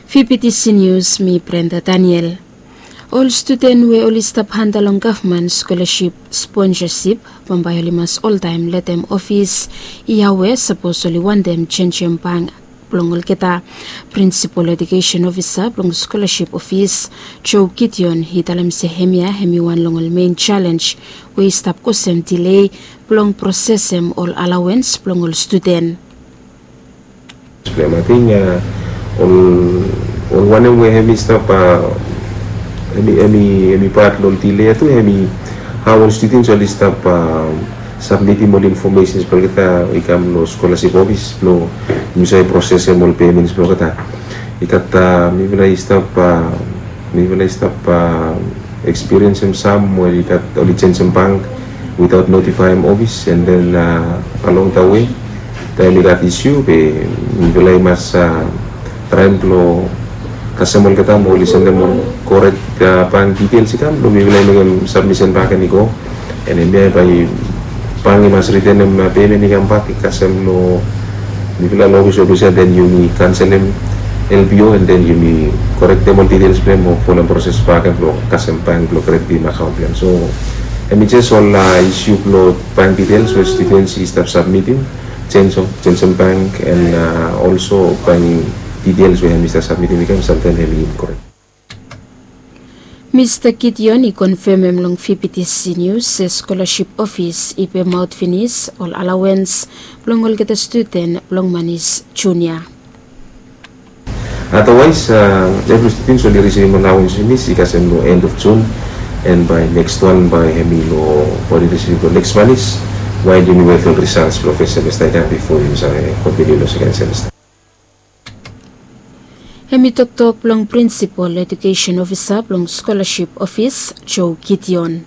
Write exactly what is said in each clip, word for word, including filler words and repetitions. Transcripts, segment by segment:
Fifty Seniors, mi Brenda Daniel. Ol studen we oli stap hanta long gavman skolaship sponsasip, bambae oli mas oltaem letem ofis i awe sapos oli wantem jenjem bank blong olgeta. Prinsipol ejukesen ofisa blong skolaship ofis, Joe Gideon, i talem se hemia hemi wan long ol mein jalenj we i stap kosem dilei blong prosesem ol alawens blong ol studen. Blong ating ol ol wanem we hemi stap a hemi hemi hemi pat long ol dile ya tu hemi hao ol studens oli stap a sabmitim ol infomesens blong olgeta i kam long skolasip ofis blong yumi save prosesem ol pemens blong olgeta. I gat a mifala i stap a mifala i stap a ekspiriensem sam we i gat oli jenjem bank witaot notifaem ofis, en den along da we taem i gat isiu be mifala i mas traem blong kasem olgeta mo oli sendem ol korek bank ditels i kam blong mifala i mekem sabmisen bak en i go. En hemia bae bank i mas ritenem pemen i kam bak i kasem long mifala long ofis ofisa, den yumi kanselem L P O, en den yumi korektem ol ditels blong hem mo folem proses bak blong kasem bank blong kreditim akaon blong hem. So hemi jes ol isiu blong bank ditels we studens i stap sabmitim, jenjem bank, en olso bank ditels we hemi stap sabmitim i kam samtaem hemi inkorek. Mista Gideon i konfemem long Fifty Seniors se skolasip ofis i pemaot finis ol alawens blong olgeta studen blong Manis Junia. Adawaes evri studens oli risivim alawens finis i kasem long en of Jun, en bae neks wan bae hemi long bae oli risivim long neks Manis, wael yumi wet long risals blong fes semesta i kam bifo yumi save kontiniu long seken semesta. Hemi toktok blong prinsipol ejukesen ofisa blong skolasip ofis, Joe Gideon.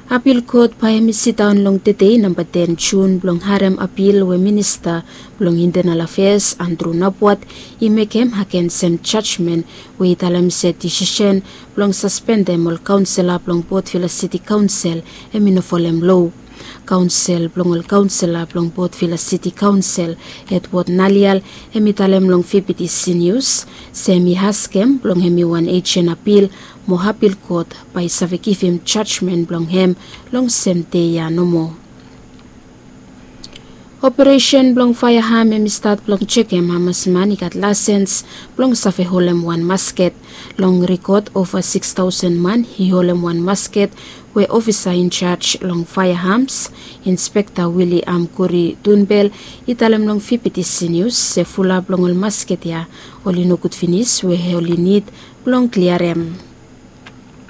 Apil kot bae hemi sidaon long tedei namba ten Jun blong harem apil we minista blong intenal afeas Andrew Napuat i mekem agensem jajmen we i talem se disisen blong saspendem ol kaonsela blong Port Vila Siti Kaonsel hemi no folem loa. Kaonsel blong ol kaonsela blong Port Vila Siti Kaonsel, Edward Nalial, hemi talem long Fifty Seniors se hemi askem blong hemi wan ejen apil mo apil kot bae i save givim jajmen blong hem long sem dei ya nomo. Operesen blong faeaham hemi stat blong jekem hamas man i gat laesens blong save holem wan masket. Long rikot ova sikis taosen man i holem wan masket we ofisa injaj long faeahams, Inspekta Willy Amkuri Dunbel, i talem long Fifty Seniors se fulap long ol masket ya oli nogud finis we oli nid blong kliarem.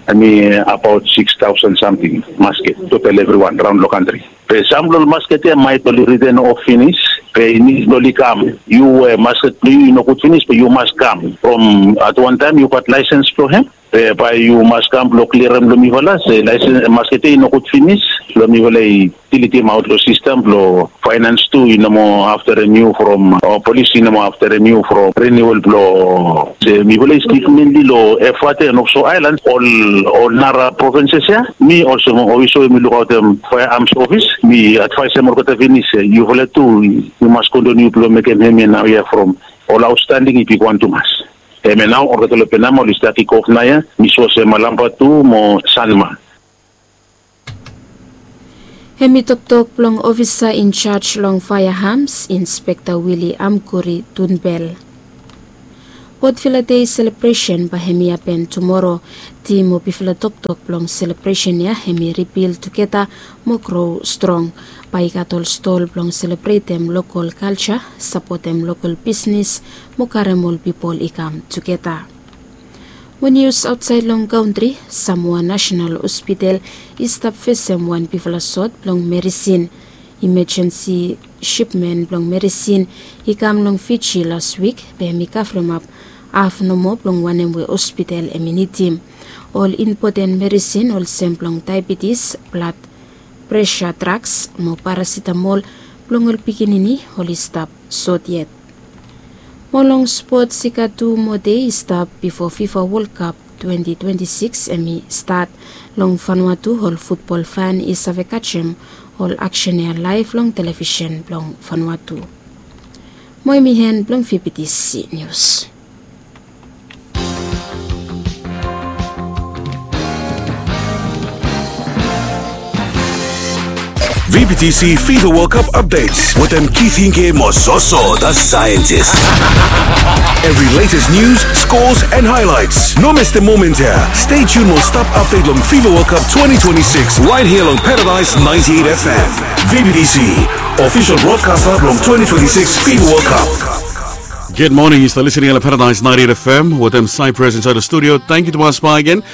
Hemi abaot sikis taosen samting masket total evriwan raon long kantri. Be sam blong ol masket ya maet oli riten of finis, be i nid blong oli kam. Yu we masket blong yu i nogud finis be yu mas kam from at wan taem yu gat laesens blong hem. Be bae yu mas kam blong kliarem long mifala se laesens masket ya i nogud finis. Long mifala i dilitim aot long sistem blong faenans tu i no moa afterem yu from o polis i no moa afterem yu from riniual blong se mifala i stik menli long efate and ofso aelan ol ol nara provenses ya. Mi olsem ofiso we mi lukaotem faearms ofis mi advaesem olgeta finis se yufala tu yu mas kontiniu blong mekem hemia naoia from ol aotstanding i bigwan tumas. Hemia nao olgeta long penama oli stat i gof naoia mi sua se malamba tu mo sanma. Hemi toktok blong ofisa injaj long faeahams, Inspekta Willy Amkuri Dunbel. Port Vila Dei selebresen bae hemi hapen tumoro. Tim o bifala toktok blong selebresen ya hemi ribil tugeta mo gro strong. Bae i gat ol stol blong selebretem lokol kalja, sapotem lokol bisnis mo karem ol pipol i kam tugeta. Mo nius aotsaed long kantri, Samoa Nasenal Hospital i stap fesem wan bigfala sot blong merisin. Imejensi sipmen blong merisin i kam long Fiji las wik, be hemi kavremap haf nomo blong wanem we hospital hemi nidim. Ol impoten merisin olsem blong daebetis, blad presa, draks mo parasitamol blong ol pikinini oli stap sot yet. Mo long spots, i gat tu moa dei i stap bifo FIFA World Cup twenti twenti sikis hemi stat. Long Vanuatu ol futbol fan i save kajem ol aksen ya laef long televisen blong Vanuatu. Mo hemi en blong Fifty Nius. B B C FIFA World Cup updates wetem Keith Hinke mo Zoso, the scientist. Every latest news, scores, and highlights. No miss the moment here. Stay tuned mo stap update long FIFA World Cup twenty twenty-six right here long Paradise ninety-eight F M. V B T C, official broadcaster long twenty twenty-six FIFA World Cup. Good morning, you still listening to Paradise ninety-eight F M wetem Cyprus inside the studio. Thank you to us again.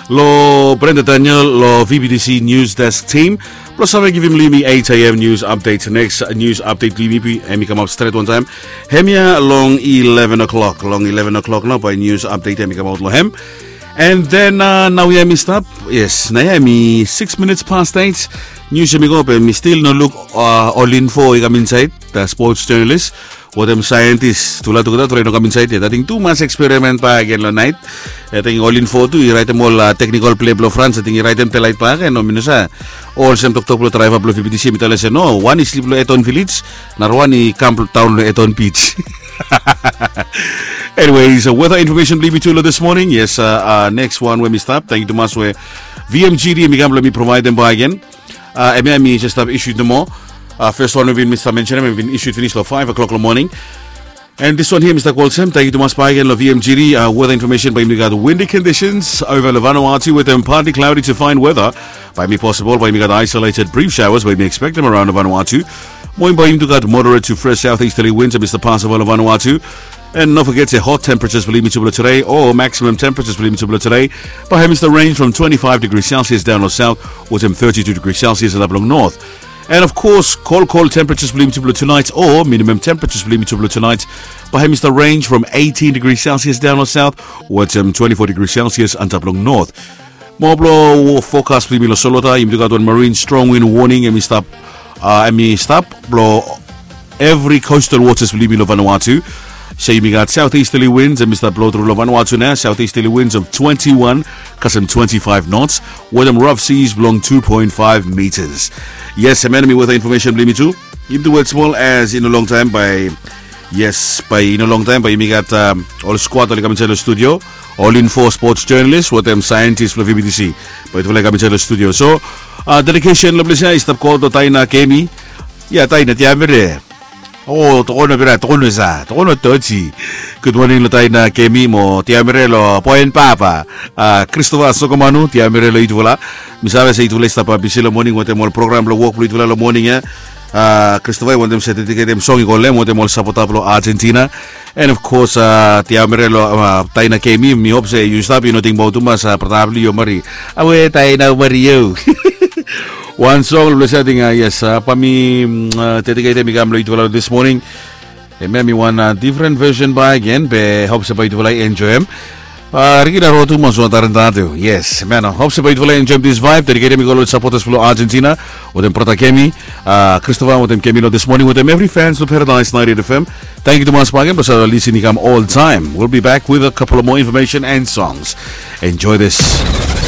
Lo Brenda Daniel, lo V B T C News Desk Team. Blo save givim long yumi eight a.m. news update. Next news update blo yumi hemi kamap stret wantaem. Hemia long eleven o'clock. Long eleven o'clock nao bae news update hemi kamaot lo hem. And then uh, naoia hemi stap. Yes, naoia hemi six minutes past eight. News hemi go be mi stil no luk uh, ol info i kam insaed. The sports journalist wetem saentis tufala tugeta turae no kam insaed yet. Ating tumas eksperimen bakegen long naet. Ating ol info tu i raetem ol teknikol plea blong Frans, ating i raetem delaet bakegen. No mi no save olsem toktok blong draeva blong V B T C hemi talem se no, wan i slip long Eton Village, narawan i kam daon long Eton Beach. Anyways, weather information blong yumi tu long this morning. Yes, uh, uh, next one we mi stap. Thank you tumas we V M G D hemi kam blong mi provaedem bakegen. Uh, hemia hemi jes stap issued nomo. Uh, first one we bin mi stap mentionem hemi bin issued finis long five o'clock long morning. And this one here, Mister Colson, thank you tumas bakegen long V M G D. Uh, weather information bae yumi gat windy conditions over long Vanuatu wetem partly cloudy to fine weather. Bae hemi possible bae yumi gat isolated brief showers bae yumi expectem around long Vanuatu. Mo bae yumi tu gat moderate to fresh southeasterly winds, Mister Possible long Vanuatu. And no foget se hot temperatures blong yumi tu blong today o maximum temperatures blong yumi tu blong today bae hemi stap range from twenty-five degrees Celsius daon long south wetem thirty-two degrees Celsius antap long north. And of course, cold, cold temperatures blong yumi tu blong tonight o minimum temperatures blong yumi tu blong tonight bae hemi stap range from eighteen degrees Celsius daon long south wetem twenty-four degrees Celsius antap long north. Mo blong forecast blong yumi long solwota, yumi tu gat wan marine strong wind warning hemi stap, uh, hemi stap blong every coastal waters blong yumi long Vanuatu. So yumi gat southeasterly winds hemi stap blong tru long Vanuatu nao, southeasterly winds of twenty-one kasem twenty-five knots wetem rough seas blong two point five meters. Yes, hemia hemi weather information blong yumi tu. Yumi tu wet smol as i no longtaem bae, yes, bae i no longtaem bae yumi gat um, ol squad oli kam insaed long studio. Ol info, sports journalist wetem saentis blong V B T C bae tufala i kam insaed long studio. So uh, dedication long ples ia i stap go long Taina Kemi. Ia Taina, tiamere. O, tokono bera, tokono sa, tokono toji. Good morning long Taina Kemi mo tiamere long boen papa, uh, Christopher Sokomanu, tiamere long yutufala. Mi save se yutufala i stap bisi long moning wetem ol program blong wok blong yutufala long moning ia. Uh, Christopher i wantem se dediketem song i go long hem wetem ol sapota blong Argentina. And of course uh, tiamere long uh, Taina Kemi, mi hop se yu stap yu no tingbaot tumas uh, brata blong yu o marit. Awe, Taina o marit yu. Wan song blong ples ia ating uh, yes uh, bae mi mm, uh, dediketem i kam long yutufala this morning. Hemia hemi wan uh, different version bakegen be hop se bae yutufala i enjoem. Uh, Ricky Larotu mo Suan Tarentatu. Yes, hemia nao, hop se bae yutufala i enjoem this vibe. Dediketem i go long supporters blong Argentina wetem brata Kemi, uh, Christopher wetem Kemi long this morning wetem every fans blong Paradise ninety-eight F M. Thank you tumas bakegen blong save listen i kam all time. We'll be back with a couple of more information and songs. Enjoy this.